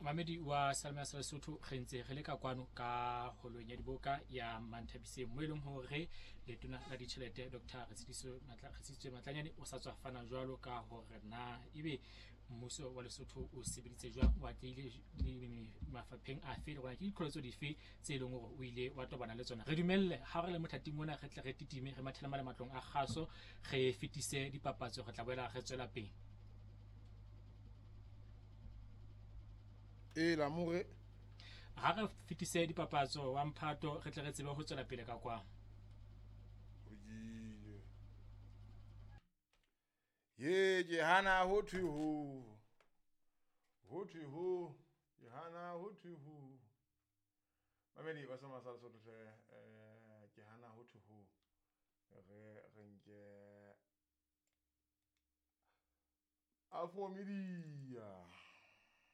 Mamedi wa Salma sa Lesotho, re ntse re le ka kwano ka holong ya diboka ya Manthabiseng, mo e leng hore letona la ditjhelete Dr. Retshidiswe Matlanyane o sa tswa fana jwalo ka hore na ebe mmuso wa Lesotho o sebeditse jwang, o atlehile mafapheng afe, le gona ke diqholotso dife tse e leng hore o ile wa tobana le tsona. Re dumelle ha re le mothating mona, re tle re titime, re mathele male matlong a kgaso, re fetise dipapatso, re tla boela re tswela pele. E la more ha re fetise dipapatso wa mphato, re tle re tsebe ho tswela pele ka kwa. Ye ke hana ho thwe ho, ho thwe ho, ke hana ho thwe ho. Mamedi ba sama sa Lesotho hle, ke hana ho thwe ho. Re nke Afro Media.